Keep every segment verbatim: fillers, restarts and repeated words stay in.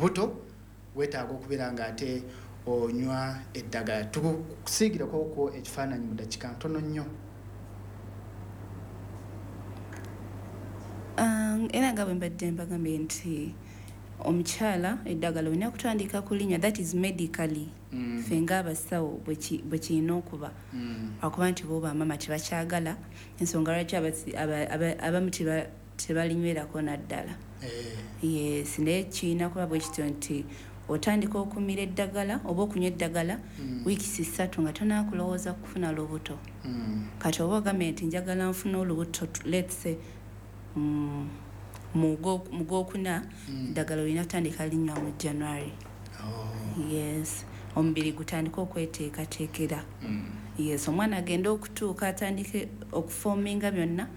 Buto weetaaga okubeera nga ate onywa eddagala. Tukusiigireko ko ekifaananyi mu dakiika ntono nnyo. Era nga bwe mbadde mbagambye nti omukyala eddagala olina kutandika kulinywa, that is medically, Mm. ffe ng'abasawo bwe kirina okuba, akuba nti bo bamama tebakyagala, ensonga lwaki abamu tebalinywerako naddala. Yes, naye kirina kuba bwe kityo nti otandika okumira eddagala oba okunywa eddagala wiikisi ssatu nga tonaakulowooza kufuna lubuto. Kati oba ogambye nti njagala nfune olubuto, let's say mu gwokuna, eddagala olina kutandika linywa mu January. Yes, omubiri gutandika okweteekateekera. Yes, omwana agenda okutuuka atandike okuforminga byonna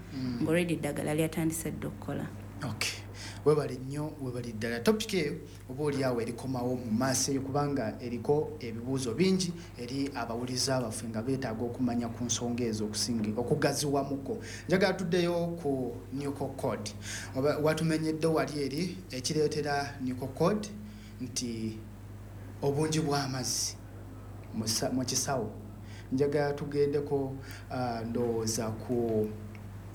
ng'already eddagala lyatandise dda okukola. Okay, webale nnyo, webale ddala. Topic eyo oba oli awo erikomawo mu maaso eyo, kubanga eriko ebibuuzo bingi eri abawuliza baffe nga beetaaga okumanya ku nsonga ezo okusinga okugaziwamuko. Njagala tuddeyo ku nuchal cord. Watumenyedde wali eri ekireetera nuchal cord nti obungi bw'amazzi mu kisawo. Njagala tugendeko ndowooza ku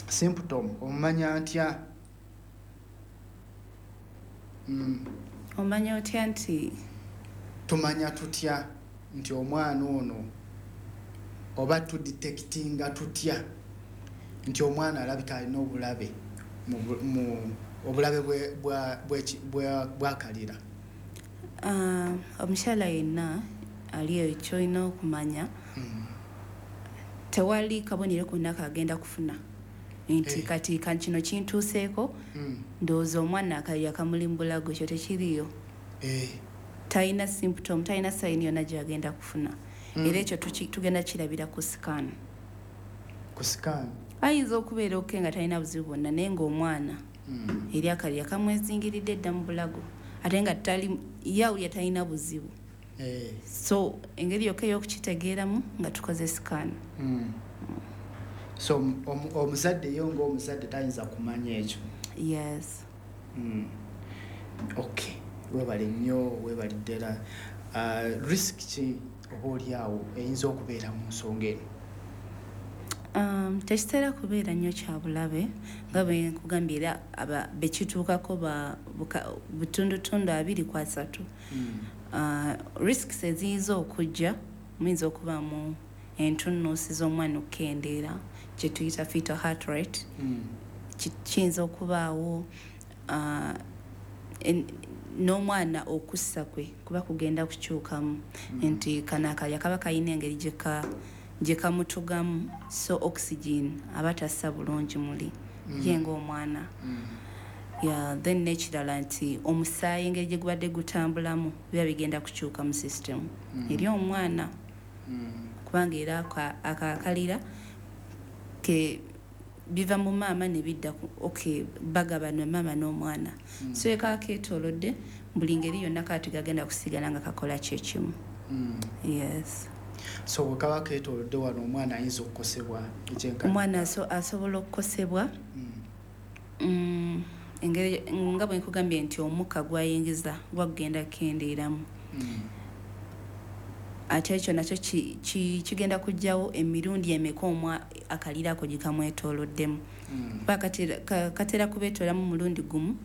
symptom. Omanya ntya? Mm. Omanya otya nti tumanya tutya nti omwana ono, oba tudetectinga tutya nti omwana alabika alina obulabe mu obulabe bwakalira? Omukyala yenna ali eyo kyolina okumanya, tewali kabonero konna kagenda kufuna nti kati kino kintuuseeko, ndowooza omwana akalira kamuli mu bulago. Ekyo tekiriyo, talina symptom, talina sign yonna gyagenda kufuna. Era ekyo tugenda kirabira ku scan. Ku scan Ayinza okubeera okay nga talina buzibu bwonna, naye ng'omwana eri akalira kamwezingiridde dda mu bulago, ate nga tali yawulya talina buzibu. So engeri yokka ey'okukitegeeramu nga tukoze scan. So omuzadde yo ng'omuzadde tayinza kumanya ekyo? Yes. Okay, webale nnyo, webale ddala. Risk ki oba oli awo eyinza okubeera mu nsonga eno? Tekitera kubeera nnyo kya bulabe, nga bwe nkugambye, era bekituukako butundutundu abiri ku asatu. Risks eziyinza okujja, muyinza okubaamu entunnunsi z'omwana okukendeera, kye tuyita fetal heart rate. Kiyinza okubaawo n'omwana okussa kwe kuba kugenda kukyukamu, nti kano akalya kaba kalina engeri gye kamutugamu, so oxygen aba tassa bulungi muli ye ng'omwana. Then n'ekirala nti omusaayi engeri gye gubadde gutambulamu biba bigenda kukyuka mu system eri omwana, kubanga era akakalira ke biva mu maama ne bidda, okay, bagabana maama n'omwana. So ekaba keetoolodde buli ngeri yonna, kati gagenda kusigala nga kakola kyekimu. Yes. So bwe kaba keetoolodde wano, omwana ayinza okukosebwa ekyenkana? Omwana asobola okukosebwa engeri nga bwe nkugambye nti omukka gwayingiza gwagenda kukendeeramu, ate ekyo nakyo kigenda kujjawo emirundi emeka omwa akalira ako gye kamwetooloddemu, kuba katera kubeetoolamu mulundi gumu,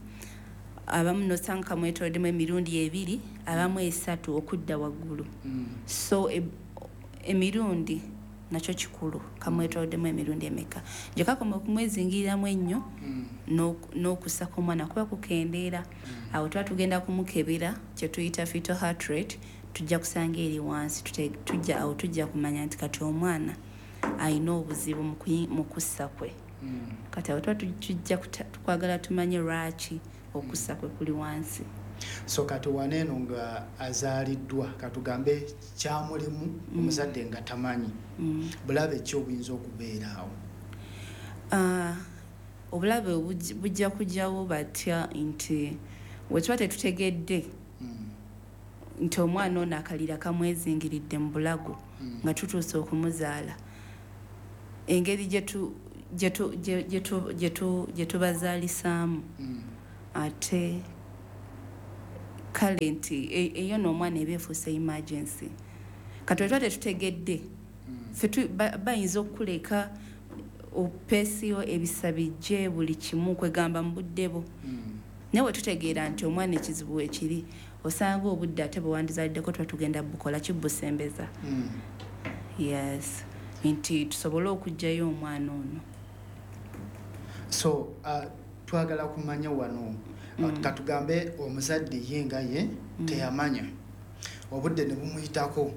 abamu nosanga kamwetooloddemu emirundi ebiri, abamu esatu okudda waggulu. So emirundi nakyo kikulu, kamwetooloddemu emirundi emeka. Gye kakoma okumwezingiriramu ennyo, n'okussa kw'omwana kuba kukendeera. Awo tuba tugenda kumukebera kye tuyita fetal heart rate, tujja kusanga eri wansi. Tujja awo tujja kumanya nti kati omwana alina obuzibu mu kussa kwe. Kati awo tuba tujja tukwagala tumanye lwaki okussa kwe kuli wansi. So kati waneeno nga azaaliddwa, katugambe kyamulimu, omuzadde nga tamanyi, bulabe ki obuyinza okubeera awo? Obulabe bujja kujjawo batya nti wetuba tetutegedde nti omwana ono akalira kamwezingiridde mu bulago nga tutuuse okumuzaala, engeri gye tubazaalisaamu ate Kale nti e- eyo n'omwana eba efuuse emergency. Kati wetwa tetutegedde, ffe tu- ba- bayinza okukuleka opeesiyo ebisa bijje buli kimu, kwegamba mu budde bwo. Mm. Naye wetutegeera nti omwana ekizibu wekiri, osanga obudde ate bwe wandizaliddeko tuba tugenda bukola kibusembeza. Mm. Yes, nti tusobole okuggyayo omwana ono. So uh, twagala kumanya wano, mm. katugambe omuzadde ye nga ye mm. teyamanya, obudde ne bumuyitako,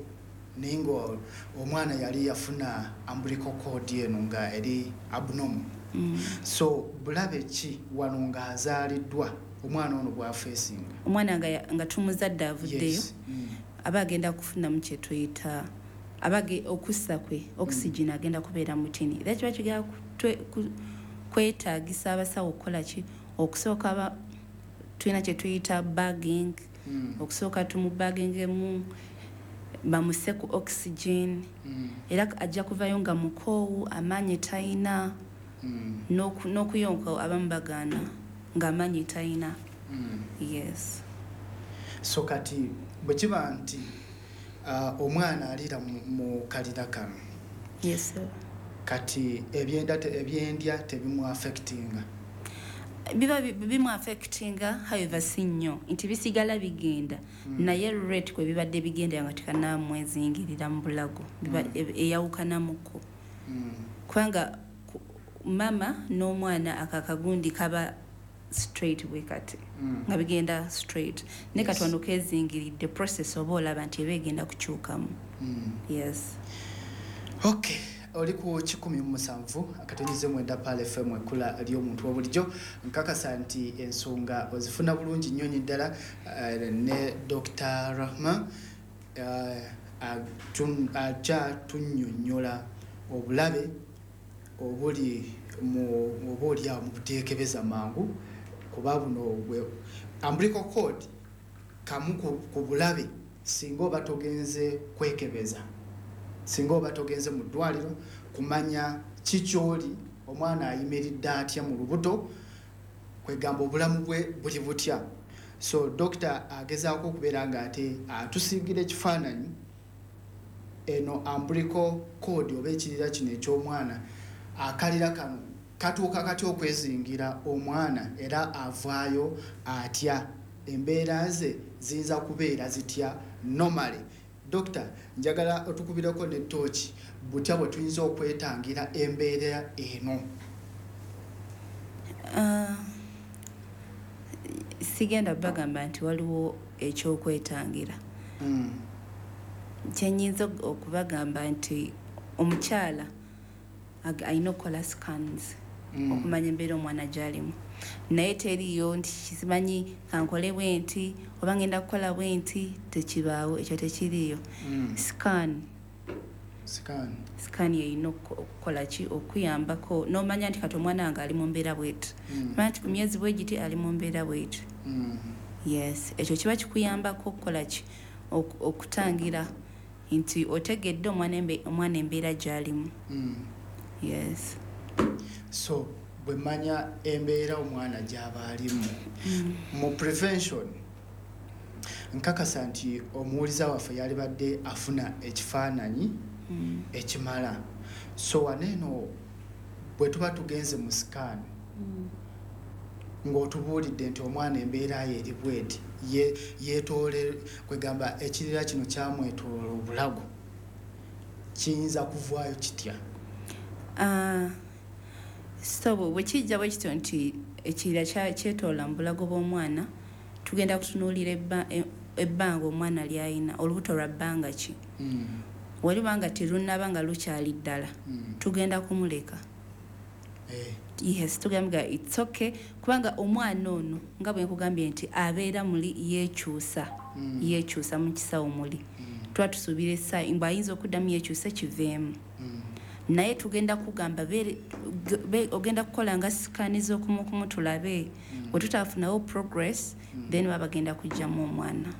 naye nga omwana yali yafuna umbilical cord eno nga eri abnormal. Mm. So bulabe ki wano ng'azaaliddwa omwana ono bw'afeesinga? Omwana nga, ya- nga tumuzadde avuddeyo, Yes. Mm. aba agenda kufunamu kyetuyita abage okussa kwe oxygen agenda kubeera mutini, era kiba kigenda kutwe- ku- kwetaagisa abasawo okukola ki? Okusooka aba- tulina kyetuyita bagging. Mm. Okusooka tumubagingemu, bamuse ku oxygen. Mm. Era ajja kuvayo nga mukoowu, amaanyi talina. Mm. n'oku- n'okuyonka abamu bagaana ng'amaanyi talina. Mm. Yes. So kati bwe kiba nti uh, omwana aliira mu, mu kalira kano, Yes, sir. kati ebyenda te- ebyendya tebimu affectinga? Biba bi- bimu affectinga, however si nnyo nti bisigala bigenda, naye rate kwe bibadde bigenda nga tekanamwezingirira mu bulago biba e- eyawukanamuko. Mm. Kubanga ku- mama n'omwana ako akagundi kaba straight bwe kati, Mm. nga bigenda straight, naye Yes. kati wano kezingiridde, process oba olaba nti eba egenda kukyukamu. Mm. Yes. Okay, oli ku kikumi mu musanvu akatonyeze mwenda Pearl F M, ekkula ly'omuntu wabulijjo. Nkakasa nti ensonga ozifuna bulungi nnyo nnyo ddala. eh, ne Doctor Rahma eh, atun- akyatunnyonnyola obulabe obuli mu oba oli awo mu buteekebeza mangu, kuba buno bwe umbilical cord kamu ku, ku bulabe singa oba togenze kwekebeza, singa oba togenze mu ddwaliro kumanya kikyoli, omwana ayimiridde atya mu lubuto, kwegamba obulamu bwe buli butya. So dokita agezaako okubeera nga ate atusiigira ekifaananyi eno umbilical cord oba ekirira kino eky'omwana, akalira kano katuuka katya okwezingira omwana, era avaayo atya, embeera ze ziyinza kubeera zitya normally. Dokita, njagala otukubireko ne tooki butya bwe tuyinza okwetangira embeera eno. Ah, sigenda bagamba nti waliwo ekyokwetangira. Mm. Kyenyinza okubagamba nti omukyala ag- alina okukola scans Mm. okumanya embeera omwana gy'alimu, naye teriyo nti simanyi kankole bwe nti oba ngenda kukola bwe nti, tekibaawo, ekyo tekiriiyo. Mm. Scan. Scan. Scan yeyina okuko- okukola ki? Okuyambako n'omanya nti kati omwana wange ali mu mbeera bweti, Mm. manya nti ku myezi bwe giti ali mu mbeera bweti. Mm. Yes, ekyo kiba kikuyambako okukola ki? Ok- okutangira nti otegedde omwana embe- omwana embeera gy'alimu. Mm. Yes. So bwe manya embeera omwana gy'aba alimu mu prevention, nkakasa nti omuwuliza waffe yalibadde afuna ekifaananyi Mm. ekimala. So waneeno bwe tuba tugenze mu scan, Mm. ng'otubuulidde nti omwana embeera ye eri bweti, ye yeetoole, kwegamba ekirira kino kyamwetoola obulago, kiyinza kuvaayo kitya? Ah, so bwe kijja bwe kityo nti ekirira kya- kyetoola mu bulago bw'omwana, tugenda kutunuulira ebba- e- ebbanga omwana ly'alina, olubuto lwa bbanga ki. Mm, Waliba nga terunnaba, nga lukyali ddala, mm, tugenda kumuleka. eh, Yes, tugamba it's okay, kubanga omwana ono nga bwe nkugambye nti abeera muli yeekyusa, mm, yeekyusa mu kisawo muli, mm, tuba tusuubira essaawa mbw ayinza okuddamu yeekyuse kiveemu. mm, Naye tugenda kugamba beere- ge- be- ogenda kukola nga sikaani z'okumukumu tulabe. Mm. Bwe tutaafunawo progress, Mm. then baba bagenda kuggyamu omwana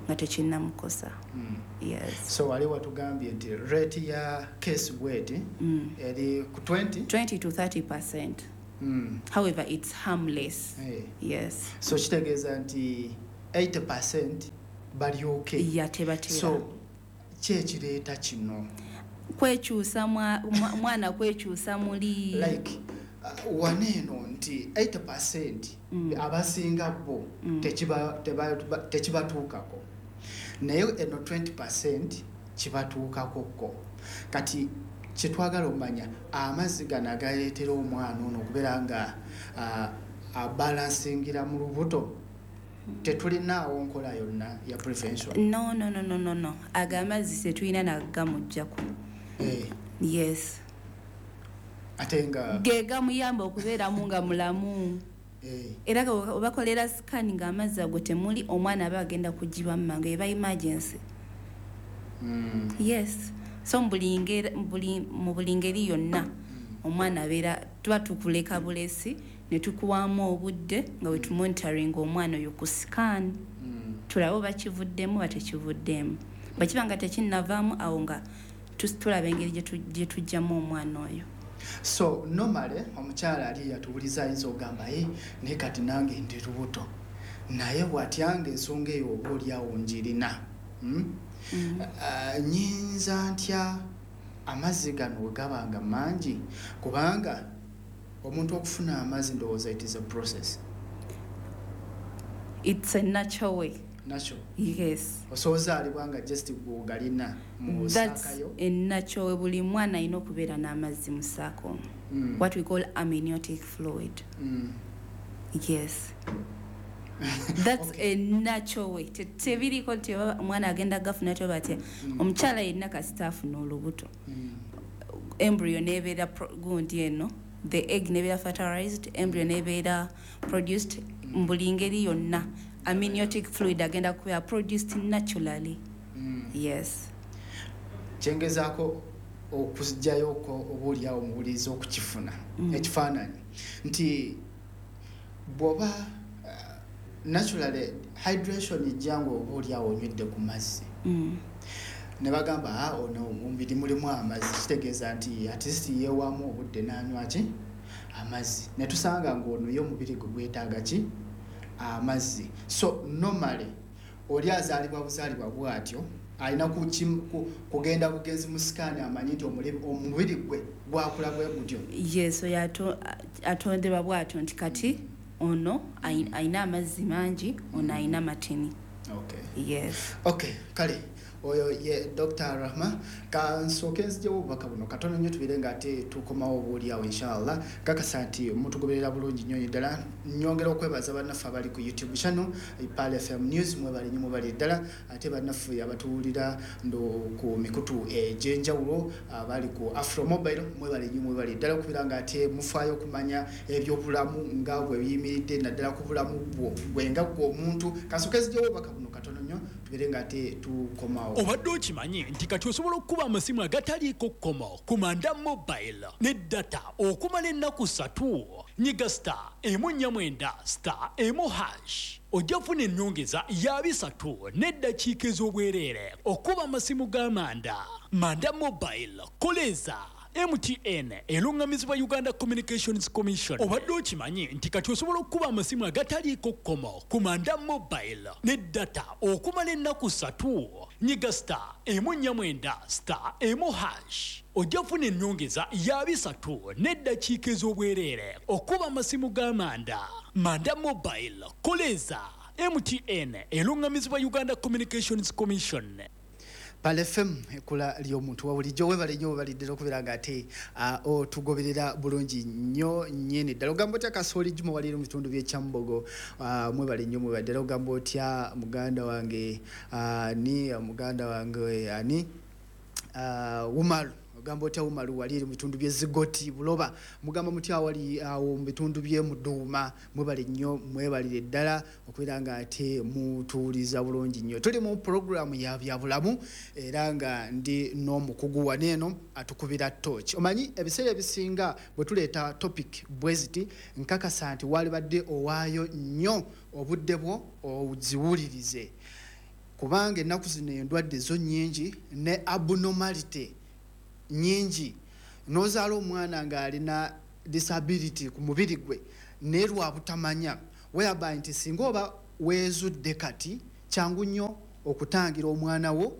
nga tekinnamukosa. mm. Yes. So wali watugambye nti rate ya case bweti mm. eri ku twenty. twenty to thirty percent. Mm. However, it's harmless. Eh. Yes. So kitegeeza nti eighty percent bali okay. Yeah, tebatera. So ki ekireeta kino? Kwekyusa mwana kwekyusa muli like uh, waneeno nti eighty percent mm. abasinga bo mm. tekibatuukako, naye eno twenty percent kibatuukako ko. Kati kyetwagala omanya amazzi gano agaleetera omwana ono okubeera nga uh, abalansingira mu lubuto, tetulinaawo nkola yonna ya prevention? No, no, no, no, no, no. Ago amazzi tetulina nagamuggyako. Eh. Yes. Ate nga ge gamuyamba okubeeramu nga mulamu. Eh. Era obakolera scan nga amazzi ago temuli, omwana aba agenda kugibwa mangu, eba emergency. Mm. Yes. So mu buli ngeri yonna omwana abeera tuba tukuleka bulesi ne tukuwaamu obudde nga we tumonitoring omwana oyo ku scan, mm. tulabe oba kivuddemu oba tekivuddemu. Bwe kiba nga tekinnavaamu awo nga tulaba engeri gye tujjamu omwana oyo. So normally omukyala ali yatuwuliza ayinza okugamba ye naye kati nange ndi lubuto, naye bw'atyanga ensonga eyo oba oliawo njirina. Mm? Mm. Uh, nyinza ntya amazzi gano we gaba nga mangi, kubanga omuntu okufuna amazzi ndowooza it is a process. It's a natural way. Natural? Yes. Osozaalibwa nga just gwogalina mu saakayo? That's a natural way. Buli mwana alina okubeera n'amazzi mu saako. Mm. What we call amniotic fluid. Mm. Yes. That's okay. A natural way. Tebiriko nti omwana agenda gafuna toba atya. Mm. Omukyala yenna kasita afuna olubuto. Mm. Embryo n'ebeera gundi eno, the egg nebeera fertilized, embryo nebeera produced mu buli ngeri yonna. Amniotic fluid agenda kubeera produced naturally. Mm. Yes. Kyengezaako okuzijjayoko oba oliawo omuwuliriza okukifuna mm. ekifaananyi nti bw'oba uh, naturally hydration ejja nga oba oliawo onywedde ku mazzi. Mm. Ne bagamba ah, ono omubiri mulimu amazzi, kitegeeza nti at least yeewaamu obudde n'anywa ki amazzi, ne tusanga ng'ono ye omubiri gwe gwetaaga ki amazzi. So normally oli azaalibwa buzaalibwa bw'atyo alina kugenda bugenzi mu sikaani amanyi nti omubiri gwe gwakula bwe gutyo. Yes, oyo atondebwa bw'atyo nti kati ono alina amazzi mangi, ono alina matini. Okay. Yes. Okay, kale oyo ye Doctor Rahma, kansooke nzijewo obubaka buno katono nnyo tubeere nga ate tukomawo oboolyawo inshallah. Kakasa nti mutugoberera bulungi nnyo ddala. Nnyongera okwebaza bannaffe abali ku YouTube channel Pearl F M News, mwebale nnyo mwebale ddala. Ate bannaffe abatuwulira ndo ku mikutu egy'enjawulo abali ku Afro Mobile, mwebale nnyo mwebale ddala okubeera nga ate mufaayo okumanya ebyobulamu nga bwe biyimiridde naddala ku bulamu bwo gwe nga ggwe omuntu. Kansooke nzijewo obubaka buno katono nnyo tubeere nga ate tukomawo. Obadde okimanyi nti kati osobola okukuba amasimu agataliiko kkomo ku Manda Mobile ne data okumala ennaku ssatu. Nyiga star emu nnya mwenda star emu hash ojja kufuna ennyongeza ya bisatu n'eddakiika ez'obwereere okuba amasimu ga Manda. Manda Mobile, koleza M T N erungamizibwa Uganda Communications Commission. Obadde okimanyi nti kati osobola okukuba amasimu agataliiko kkomo ku Manda Mobile ne data okumala ennaku ssatu. Nyiga star emu nnya mwenda star emu hash ojja kufuna ennyongeza ya bisatu n'eddakiika ez'obwereere okuba amasimu ga Manda. Manda Mobile, koleza M T N erungamizibwa Uganda Communications Commission. Pearl F M ekula ly'omuntu wa bulijjo. Weebale nnyo weebale ddala okubeera nga ate otugoberera bulungi nnyo nnyini ddala. Ogamba otya Kasooli Juma wali mu bitundu by'e Kyambogo, mwebale nnyo mwebale ddala. Ogamba otya muganda wange ani, muganda wange ani Umaru, ogamba otya Umaru wali mu bitundu by'e Zigoti Buloba, mugamba mutya wali awo mu bitundu by'e Muduuma, mwebale nnyo mwebalire ddala okubeera nga ate mutuwuliza bulungi nnyo. Tuli mu pulogulaamu ya byabulamu era nga ndi n'omukugu wano eno atukubira torch. Omanyi ebiseera ebisinga bwe tuleeta topic bwe ziti, nkakasa nti walibadde owaayo nnyo obudde bwo oziwulirize, kubanga ennaku zino endwadde zo nnyingi ne abnormality nyingi. N'ozaala omwana ng'alina disability ku mubiri gwe naye lwa butamanya, whereby nti singa oba weezudde kati, kyangu nnyo okutangira omwana wo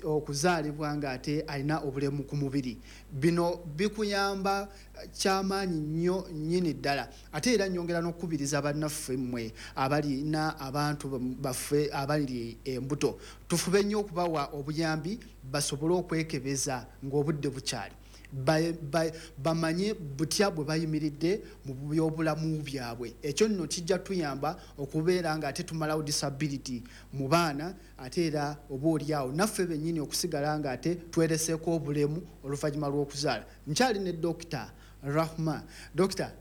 okuzaalibwa ng'ate alina obulemu ku mubiri. Bino bikuyamba kyamaanyi nnyo nnyini ddala. Ate era nnyongera n'okukubiriza bannaffe mmwe abalina abantu baffe abali embuto, tufube nnyo okubawa obuyambi basobole okwekebeza ng'obudde bukyali, bamanye butya bwe bayimiridde mu byobulamu byabwe. Ekyo nno kijja tuyamba okubeera nga ate tumalawo disability mu baana, ate era oba oliawo naffe bennyini okusigala nga ate twereseeko obulemu oluvannyuma lw'okuzaala. Nkyali ne Dokita Rahma. Dokita,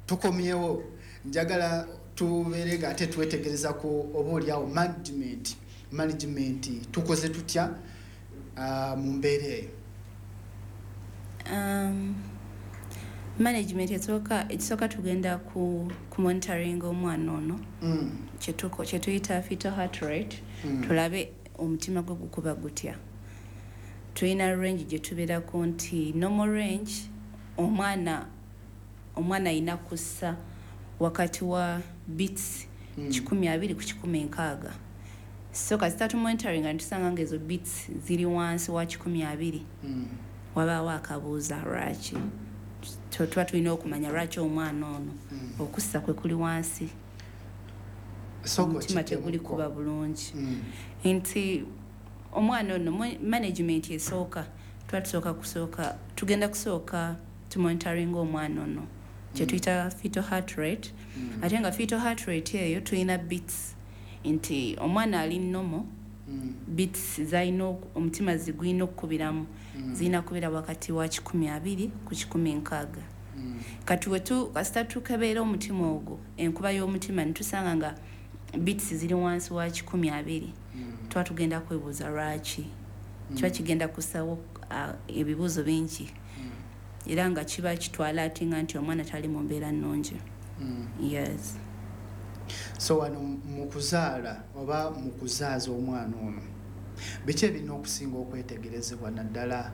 tukomyewo, njagala tubeere nga ate twetegereza ku oba oliawo management management tukoze tutya uh, mu mbeera eyo? Um, management esooka ekisooka tugenda ku, ku monitoring omwana ono mm. kyetuyita fetal heart rate, mm. tulabe omutima gwe gukuba gutya. Tulina range gye tubeerako nti normal range omwana omwana ayina kussa wakati wa beats mm. kikumi abiri ku kikumi nkaaga. So kasita tumonitoringa netusanga nga ezo beats ziri wansi wa kikumi abiri, mm. wabaawo akabuuza lwaki. Tuba tulina okumanya lwaki omwana ono mm. okussa kwe kuli wansi, omutima teguli kuba bulungi. mm. Nti omwana ono management esooka tuba tusooka kusooka tugenda kusooka tumonitoringa omwana ono kyetuyita fetal heart rate. mm. Ate nga fetal heart rate eyo tulina beats nti omwana ali normal, mm. beats zalina omutima zigulina okukubiramu, mm. zirina kubeera wakati wa kikumi abiri ku kikumi nkaaga. mm. Kati wetu kasita tukebeera omutima ogwo, enkuba y'omutima, netusanga nga beats ziri wansi wa kikumi abiri, mm. tuba tugenda kwebuuza lwaki. mm. Kiba kigenda kusawo uh, ebibuuzo bingi, mm. era nga kiba kitwala ate nga nti omwana tali mu mbeera nnungi. mm. Yes. So wano mu kuzaala oba mu kuzaaza omwana ono, biki ebirina okusinga okwetegerezebwa, naddala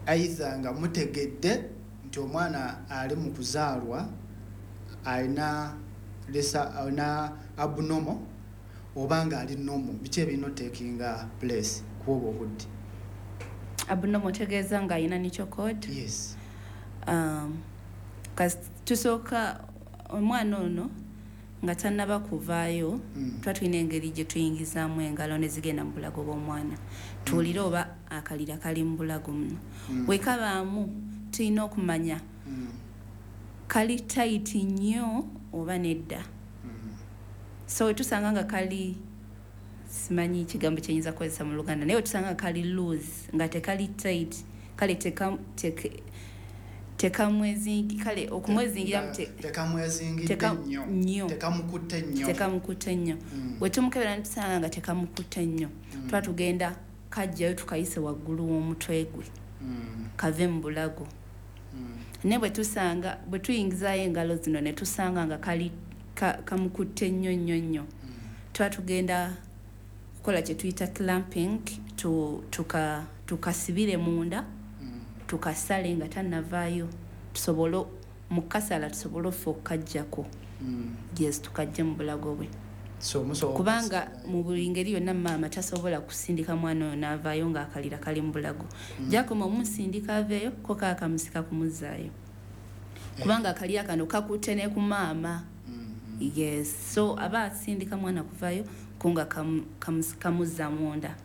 either nga mutegedde nti omwana ali mu kuzaalwa alina lesa alina abnormal oba nga ali normal, biki ebirina otakinga place ku obwo obudde? Abnormal otegeeza nga alina nuchal cord? Yes. Um, tusooka omwana ono nga tannaba kuvaayo, mm. tuba tulina engeri gye tuyingizaamu engalo ne zigenda mu bulago bw'omwana, tuwulire mm. oba akalira kali mu bulago muno. mm. Wekabaamu tulina okumanya mm. kali tight nnyo oba nedda. mm. So wetusanga nga kali, simanyi kigambo kyenyinza kukozesa mu Luganda, naye wetusanga nga kali loose, nga tekali tight, kale teka, teka, tekamwezingi, kale okumwezingiramu tekamwezingidde nnyo, tekamukutte nnyo, tekamukutte nnyo. Wetumukebera netusanga nga tekamukutte nnyo, tuba tugenda kajjayo tukayise waggulu w'omutwe gwe, kave mu bulago. Naye bwe tusanga bwe tuyingizaayo engalo zino ne tusanga nga kali kamukutte nnyo nnyo nnyo, tuba tugenda kukola kye tuyita clamping, tukasibire munda, tukasale nga tannavaayo, tusobole mu kasala tusobole offe okukajjako. Yes, tukajje mu bulago bwe. Kubanga mu buli ngeri yonna maama tasobola kusindika mwana oyo n'avaayo ng'akalira kali mu bulago. Gyakoma omusindika aveeyo, ko kaakamusika kumuzzaayo, kubanga akalira kano kakutte ne ku maama. Yes, so aba asindika mwana kuvaayo ko nga kamuzza munda.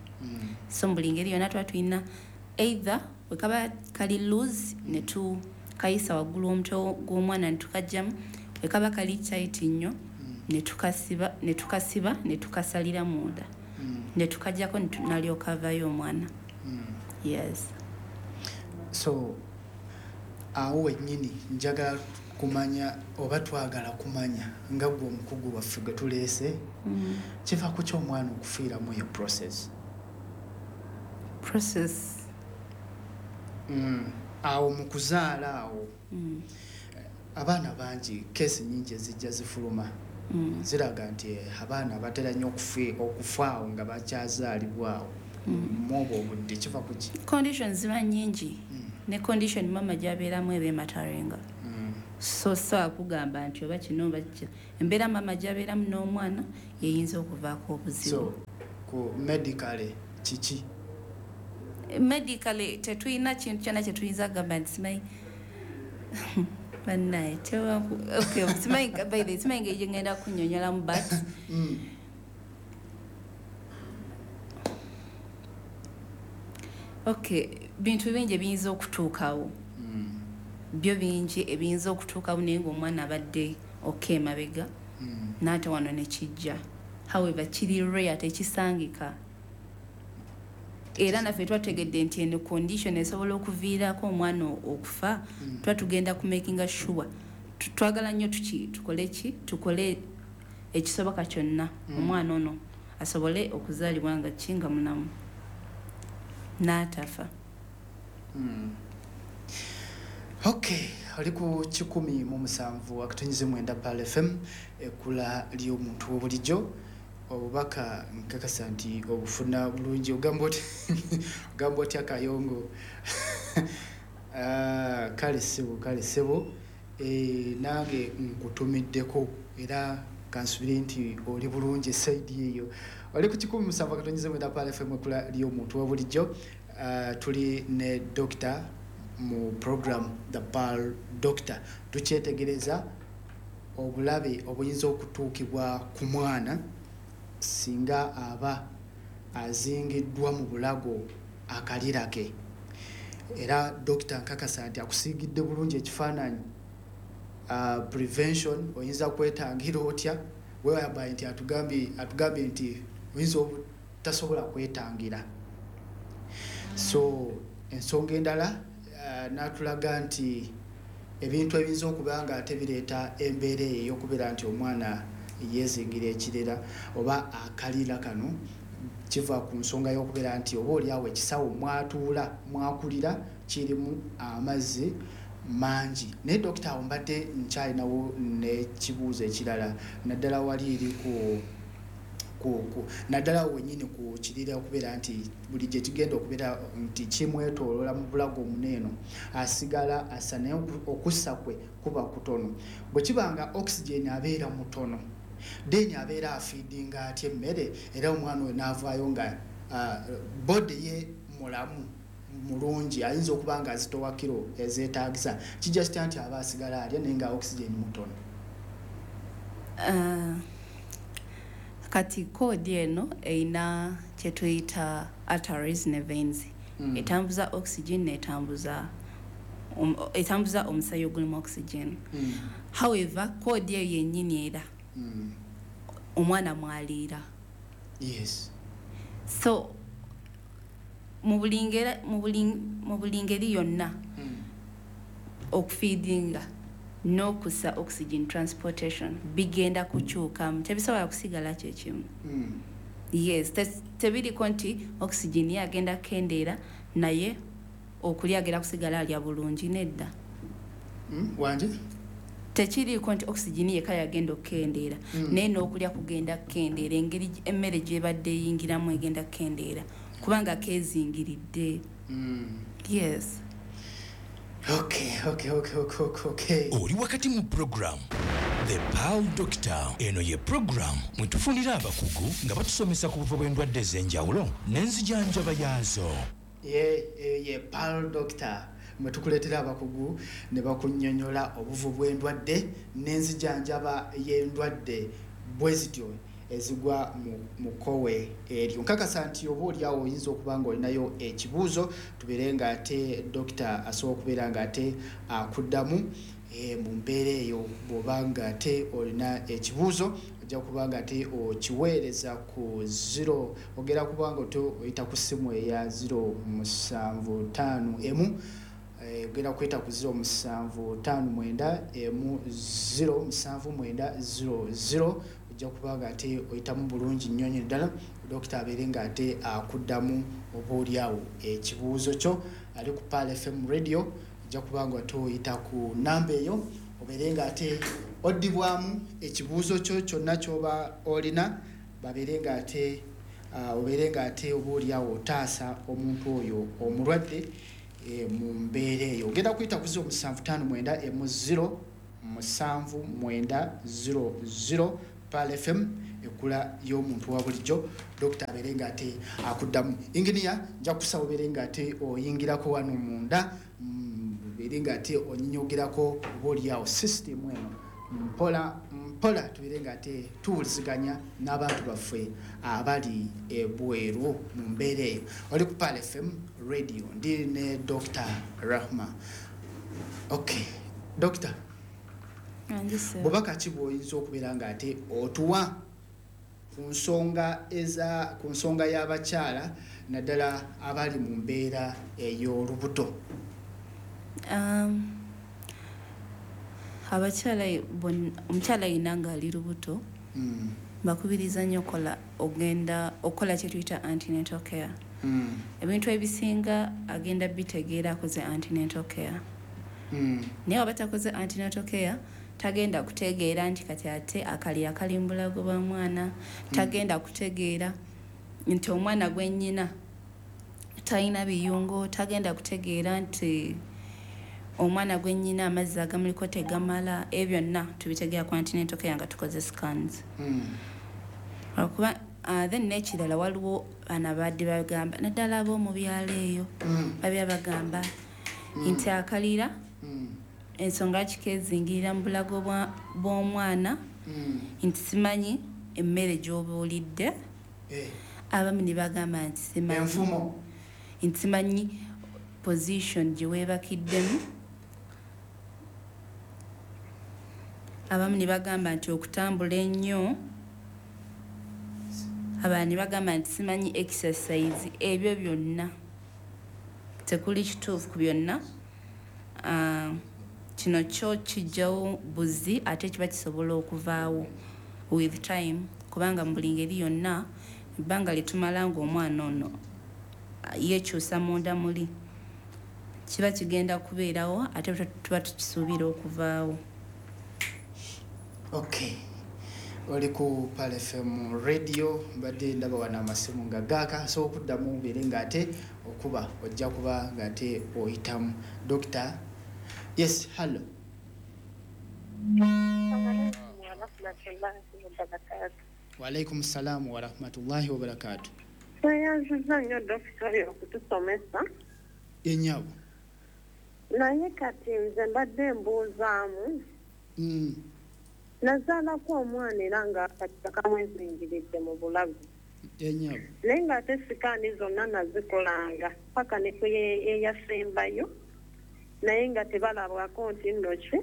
So mu buli ngeri yonna tuba tulina either wekaba kali loose ne tukayisa waggulu w'omutwe gw'omwana ne tukajjamu, wekaba kali tight nnyo ne tukasiba ne tukasiba ne tukasalira munda, ne tukajjako nalyoka avaayo omwana. Yes. So awo wennyini njagala kumanya oba twagala kumanya nga gwe omukugu waffe gwe tuleese, kiva ku ki omwana okufiiramu eyo process? Process Mm. Awo mu kuzaala awo, mm. abaana bangi keesi nnyingi ezijja zifuluma, mm. ziraga nti abaana batera nnyo okufa awo nga bakyazaalibwa awo. mm. Mu obwo obudde kiva ku ki? Conditions ziba nnyingi, mm. ne condition mama gy'abeeramu eba emataringa. mm. So so kugamba nti oba kino oba kino, embeera maama gy'abeeramu n'omwana yeyinza okuvaako obuzibu. So ku medically kiki? Medically tetulina kintu kyonna kye tuyinza kugamba nti simanyi bannaye okay, simanyi by the simanyi ngeri gye ngenda kunnyonnyolamu, but mm. Okay, bintu bingi ebiyinza okutuukawo. Mm. Byo bingi ebiyinza okutuukawo naye ng'omwana abadde okay emabega, mm. n'ate wano ne kijja. However, kiri rare, tekisangika. Era naffe twategedde nti eno condition esobola okuviirako omwana okufa, mm. tuba tugenda ku makinga sure. Twagala nnyo tuki tukole ki tukole ekisoboka kyonna, mm. omwana ono asobole okuzaalibwa nga ki nga mulamu n'atafa. Mm. Okay, oli ku kikumi mu musanvu akatonnyeze mwenda Pearl F M, ekkula ly'omuntu w'obulijjo. Obubaka nkakasa nti obufuna bulungi. Ogamba oti ogamba otya Kayongo? Ah, kale ssebo, kale ssebo, eh, nange nkutumiddeko era kansubire nti oli bulungi esayidi eyo. Oli ku kikumi musanvu akatonnyeze mwenda Pearl F M, ekkula ly'omuntu w'obulijjo. Uh, tuli ne doctor mu program The Pearl Doctor. Tukyetegereza obulabe obuyinza okutuukibwa ku mwana singa aba azingiddwa mu bulago akalira ke. Era dokita nkakasa nti akusiigidde bulungi ekifaananyi. Uh, prevention oyinza kwetangira otya, whereby nti atugambye atugambye nti oyinza obutasobola kwetangira. So ensonga endala uh, n'atulaga nti ebintu ebiyinza okuba nga ate bireeta embeera eyo ey'okubeera nti omwana yeezingira ekirera oba akalira kano kiva ku nsonga y'okubeera nti oba oliawo ekisawo mwatuula mwakulira kirimu amazzi mangi. Naye dokita, awo mbadde nkyalinawo n'ekibuuzo ekirala, naddala wali eri ku ku ku naddala wennyini ku kirira okubeera nti buli gye kigenda okubeera nti kimwetooloola mu bulago omuneeno asigala assa, naye okussa kwe kuba kutono. Bwe kiba nga oxygen abeera mutono, then abeera afiidinga atya emmere, era omwana oyo n'avaayo nga uh, body ye mulamu mulungi, ayinza okuba nga azitowa kiro ezeetaagisa. Kijja kitya nti aba asigala alya naye nga oxygen mutono? Uh, kati cord eno erina kye tuyita arteries ne veins. Mm. Etambuza oxygen n'etambuza um, etambuza omusaayi ogulimu oxygen. Mm. However, cord eyo yennyini era Mm. omwana mwaliira. Yes. So mu buli ngeri, mu buli, mu buli ngeri yonna, Mm. okufiidinga n'okussa oxygen transportation bigenda kukyukamu, tebisobola kusigala kye kimu. Mm. Yes, te- tebiriko nti oxygen ye agenda kukendeera naye okulya agenda kusigala alya bulungi, nedda. Mm. Wanje? Tekiriiko nti oxygen yekka yagenda okukendeera, Mm. naye n'okulya kugenda kukendeera, engeri emmere gy'ebadde eyingiramu egenda kukendeera kubanga keezingiridde. Mm. Yes. Okay, okay, okay, okay, okay, okay. Oli wakati mu program The Pearl Doctor. Eno ye program mwe tufunira abakugu nga batusomesa ku buvo bw'endwadde ez'enjawulo n'enzijanjaba yaazo. Ye, ye, ye Pearl Doctor mwe tukuleetera abakugu ne bakunnyonnyola obuvu bw'endwadde n'enzijanjaba y'endwadde bwe zityo ezigwa mu, mu kkowe eryo. Nkakasa nti oba oliawo oyinza okuba ng'olinayo ekibuuzo, tubeere ng'ate dokita asobola okubeera ng'ate akuddamu, eh, mu mbeera eyo. Bw'oba ng'ate olina ekibuuzo ojja kuba ng'ate okiweereza ku zero, ogenda kuba nga oyita ku ssimu eya zero musanvu ttaano emu, eh, ogenda kuyita ku zero musanvu ttaano mwenda emu zero musanvu mwenda zero zero. Ojja kuba ng'ate oyitamu bulungi nnyo nnyo ddala, dokita abeere ng'ate akuddamu oba oliawo ekibuuzo kyo. Ali ku Pearl F M Radio, ojja kuba ng'ate oyita ku namba eyo obeere ng'ate oddibwamu ekibuuzo kyo kyonna ky'oba olina, babeere ng'ate, uh, obeere ng'ate oba oliawo otaasa omuntu oyo omulwadde, eh, mu mbeera eyo. Ogenda kuyita ku zero musanvu ttaano mwenda emu zero musanvu mwenda zero zero Pearl F M ekula y'omuntu wa bulijjo. Dokita abeere nga ate akuddamu. Inginiya nja kusaba obeere nga ate oyingirako wano munda, obeere nga ate onyinyogerako oba oliawo system eno mpola mpola, tubeere nga ate tuwuliziganya n'abantu baffe abali ebweru mu mbeera eyo. Oli ku Pearl F M radio, ndi ne Doctor Rahma. Okay, Doctor, bubaka ki bw'oyinza okubeera nga ate otuwa ku nsonga eza ku nsonga y'abakyala naddala abali mu mbeera ey'olubuto? Um, abakyala omukyala yenna ng'ali lubuto mm. bakubiriza nnyo okola ogenda okukola kye tuyita antenatal care. Mm. Ebintu ebisinga agenda bitegeera akoze antenatal care. Mm. Naye waba takoze antenatal care tagenda kutegeera nti kati ate akalira kali mu bulago bwa mwana, tagenda kutegeera nti omwana gwe nnyina talina biyungo, tagenda kutegeera nti omwana gwe nnyina amazzi agamuliko tegamala. Ebyo byonna tubitegeera ku antenatal care nga tukoze scans. Mm. Olwokuba uh, then n'ekirala waliwo bano abadde bagamba naddala ab'omu byalo eyo Mm. babya bagamba Mm. nti akalira Mm. ensonga kikeezingirira mu bulago bw'omwana Mm. nti simanyi emmere gy'oba olidde. Eh. Abamu ne bagamba nti simanyi enfumo nti simanyi position gye weebakiddemu. Abamu ne bagamba nti okutambula ennyo, abalala ne bagamba nti simanyi exercise. Ebyo byonna tekuli kituufu ku byonna. Uh, kino kyo kijjawo buzi ate kiba kisobola okuvaawo with time, kubanga mu buli ngeri yonna ebbanga lye tumala ng'omwana ono yeekyusa munda muli kiba kigenda kubeerawo ate tuba tukisuubira okuvaawo. Okay, oli ku Pearl F M radio, mbadde ndaba wano amasimu nga gaaka, so okuddamu obeere ng'ate okuba ojja kuba ng'ate oyitamu. Dokita, yes, hello. Waalaikum salaamu warahmatullahi wabarakatuh. Tweyanziza nnyo dokita oyo okutusomesa. Ennyabo. Naye kati nze mbadde mbuuzaamu. Mm. Nazaalako omwana era nga akati kamwezingiridde mu bulago. Ennyabo. Naye ng'ate sikaani zonna nazikolanga paka ne ku eyasembayo, naye nga tebalabwako nti nno ki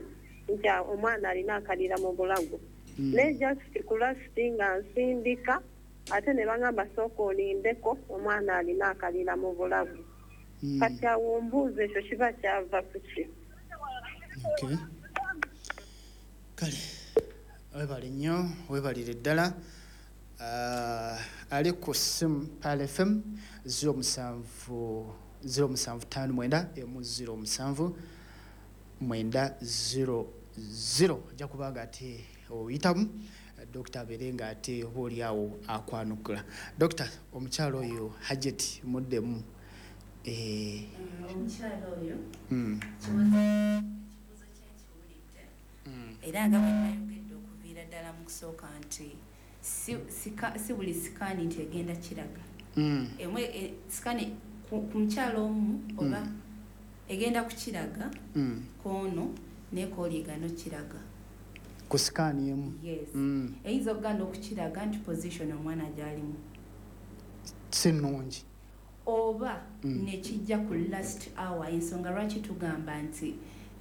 nti omwana alina akalira mu bulago. Mm. Naye just ku lasiti nga nsindika ate ne bagamba sooka olindeko omwana alina akalira mu bulago. Mm. Kati awo mbuuza ekyo kiba kyava ku ki? Okay. Kale webale nnyo, webalire ddala. Uh, ali ku ssimu Pearl F M zero musanvu zero musanvu ttaano mwenda emu zero musanvu mwenda zero zero. Ojja kuba nga ate oyitamu dokita abeere nga ate oba oli awo akwanukula. Dokita, omukyala oyo Hajjati muddemu. Eh, omukyala oyo mm. ekibuuzo kye nkiwulidde Mm. era nga bwe nayogedde okuviira ddala mu kusooka nti si, sika, si buli sikaani nti egenda kiraga. Mm. Emwe e, sikaani ku, ku mukyala omu oba Mm. egenda kukiraga Mm. kwono naye kw'oli kiraga. Ku sikaani emu. Yes. Mm. Eyinza okuganda okukiraga nti position omwana gy'alimu Si nnungi. oba Mm. nekijja ku last hour. Ensonga lwaki tugamba nti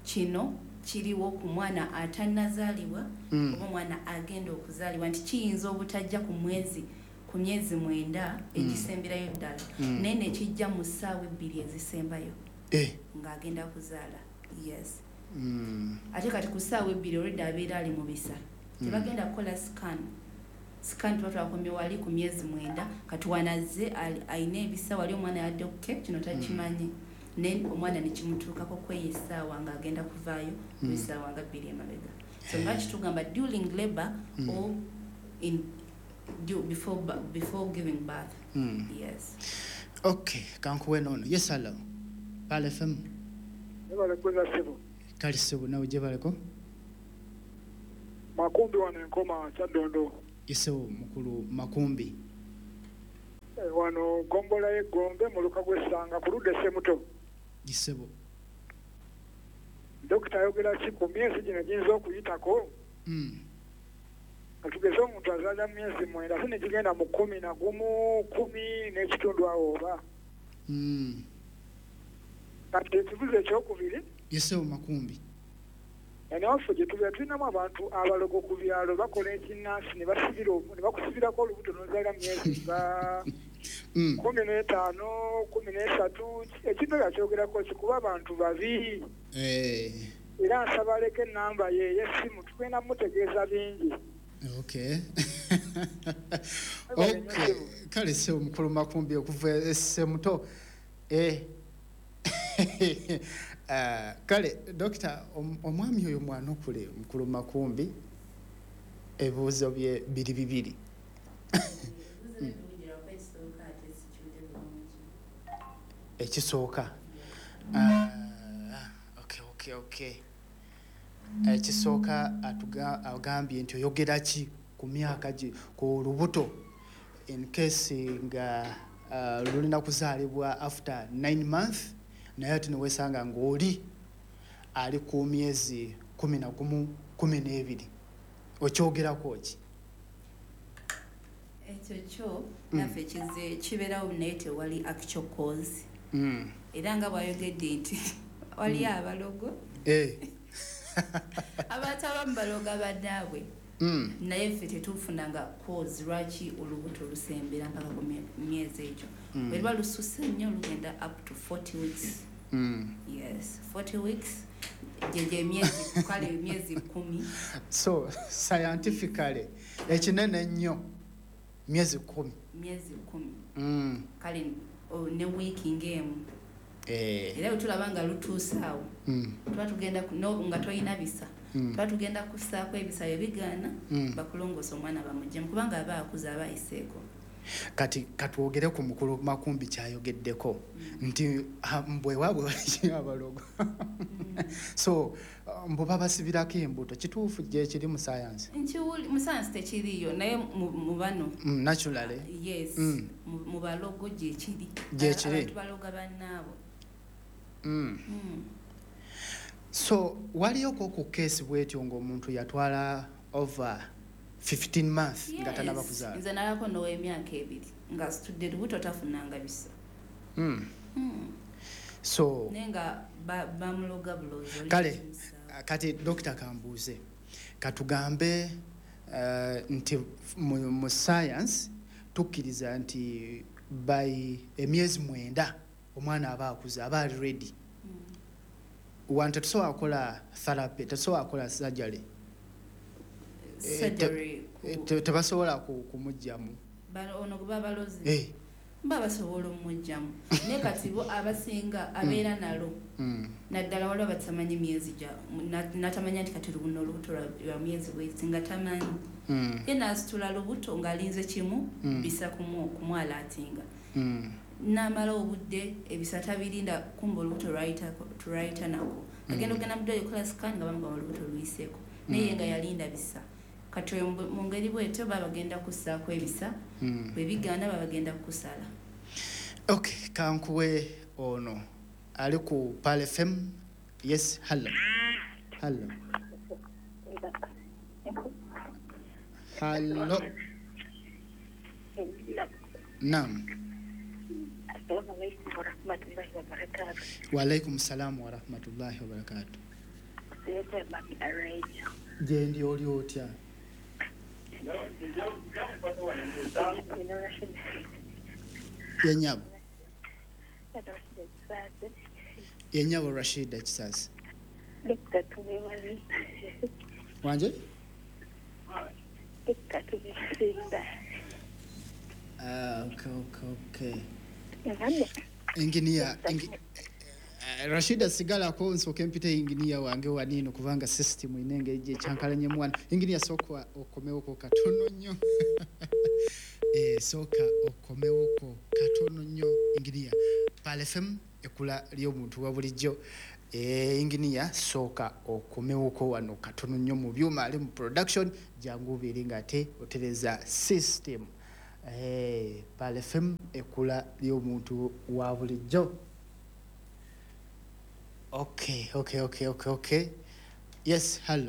kino kiriwo ku mwana atannazaalibwa Mm. oba omwana agenda okuzaalibwa nti kiyinza obutajja ku mwezi ku myezi mwenda egisemberayo ddala, Mm. naye nekijja mu ssaawa ebbiri ezisembayo Eh. ng'agenda kuzaala. Yes. Mm. Ate kati ku ssaawa ebbiri olwedde abeera ali mu bisa, tebagenda kukola scan. Scan tuba twakomye wali ku myezi mwenda, kati wanazze alina ebisa wali omwana yadde okke kino takimanyi, naye omwana nekimutuukako kweyo essaawa ng'agenda kuvaayo mu essaawa nga bbiri emabega. So nga kitugamba during labor or in du, before, before giving birth. Mm. Yes. Okay, kankuwe nono. Yes, hello. Pearl F M. Webale kweza ssebo. Kale ssebo, nawe gyebaleko. Makumbi wano enkoma Kyaddondo. Isewo mukulu Makumbi. E, wano gombola y'Eggombe mu luka gw'Essanga ku ludda Ssemuto. Isebo. Dokita ayogera ki ku myezi gino giyinza okuyitako? Mm. Katugeze omuntu azaala mu myezi mwenda ate ne gigenda mu kkumi na gumu, kkumi n'ekitundu awo oba. Mm. Kati ekibuuzo ekyokubiri. Yesewo Makumbi. Eno gye tubeera tulinamu abantu abalogo ku byalo bakola ekinnansi ne basibira ne bakusibirako olubuto n'ozaala mu myezi nga kkumi n'etaano, kkumi n'esatu. Ekintu ekyo kyogerako ki kuba abantu babi. Eh. Era nsaba aleke ennamba ye ey'essimu tugenda mutegeeza bingi. Okay. Okay. Kale ssebo mukulu Makumbi okuva e Ssemuto. Eh. Uh, kale dokita omwami oyo mwanukule mukulu Makumbi ebibuuzo bye biri bibiri. Ekisooka. Uh, okay, okay, okay. Ekisooka agambye nti oyogera ki ku myaka gi ku lubuto in case nga uh, lulina kuzaalibwa after nine months naye ate newesanga ng'oli ali ku myezi kumi na gumu kumi n'ebiri okyogerako ki? Ekyo kyo naffe kize kibeerawo naye tewali actual cause. Mm. Era nga bw'ayogedde nti wali abalogo. Eh. Abantu abamu baloga bannaabwe. Mm. Naye ffe tetufunanga cause lwaki olubuto lusembera mpaka ku myezi egyo. Mm. Bwe luba lususse nnyo lugenda up to forty weeks. Mm. Yes, forty weeks gye gye myezi kale myezi kkumi. So scientifically ekinene ennyo myezi kkumi. Myezi kkumi. Mm. Kale oh, ne wiiki ng'emu. Eh. Era bwe tulaba nga lutuuse awo. Mm. Tuba tugenda no, nga tolina bisa. Mm. Tuba tugenda kussaako ebisa ebigaana mm. bakulongoosa omwana bamuggyemu kubanga aba akuze aba ayiseeko. Kati katwogere ku mukulu Makumbi kyayogeddeko mm. nti mbwe waabwe wali abalogo. Mm. So mbu babasibirako embuto kituufu gye kiri mu science? Nkiwuli mu science tekiriiyo naye mu bano. Mm, naturally. Yes. Mm. Mu balogo gye kiri. Gye kiri. Abantu baloga bannaabwe. Mm. Mm. So waliyoko ku case bwetyo ng'omuntu yatwala over fifteen months nga tanaba kuzaala. Nze nalako n'ow'emyaka ebiri ng'asitudde lubuto tafunanga bisa. Mm. Mm. So naye nga bamuloga bulozi. Kale kati Dokita kambuuze katugambe uh, nti mu, mu science tukkiriza nti by emyezi mwenda omwana aba akuze aba ali ready. Mm. Wanti tetusobola kukola therapy, tetusobola kukola surgery. Surgery tebasobola kumuggyamu. Ono gwe babalozi. Eh. Mba basobola omuggyamu. Naye kati bo abasinga abeera nalo. Mm. Naddala waliwo abatamanyi myezi gya natamanya nti kati luno olubuto lwa myezi bweti nga tamanyi. Mm. Ye n'asitula lubuto ng'alinze kimu mm. bisa kumwalaatinga. Mm. N'amala obudde ebisa tabirinda kumba olubuto lwayita nako. Agenda ogenda mu ddwaliro okukola scan nga bamugamba olubuto luyiseeko. Naye nga yalinda bisa. Kati oyo mu ngeri bw'etyo baba bagenda kussaako ebisa, bwe bigaana baba bagenda kukusala. Okay, kankuwe ono ali ku Pearl F M. Yes, hello. Hello. Hello. Naam. Assalamu alaikum warahmatullahi wabarakatuh. Wa alaikum salam warahmatullahi wabarakatuh. Gyendi oli otya? Yenyabo. Yenyabo Rashida Kisasi. Wanje? Ah, okay, okay, okay. Engineer, engi, Rashida sigalako nsooke mpite engineer wange wanino kubanga system inenge ije kyankalanye mwana. Engineer sooka okomewoko katono nnyo. Eh, sooka okomewoko katono nnyo engineer. Pearl F M ekula ly'omuntu wa bulijjo. Eh, inginiya sooka okomewoko wano katono nnyo mu byuma ali mu production, jangu obeere ng'ate otereza system. Eh, Pearl F M, ekkula ly'omuntu wa bulijjo. okay okay okay okay okay yes, hello.